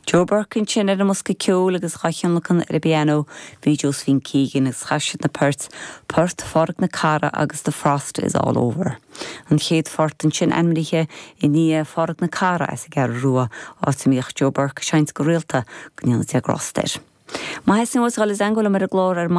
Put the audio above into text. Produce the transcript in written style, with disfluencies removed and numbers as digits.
Joe Burke ansin ar an mbosca ceoil agus dhá thionlacan ar an bpianó bhí Josephine Keegan agus chas siad na poirt, Port Phádraig na Carra agus The Frost is All Over. An chéad phort ansin ainmnithe i ndiaidh Phádraig na Carra as an gCeathrú Rua, áit a mbíodh Joe Burke ag seinnt go rialta, go ndéana Dia grásta air. Má theastaíonn uait dhul i dteangmháil liom ar an gclár ar.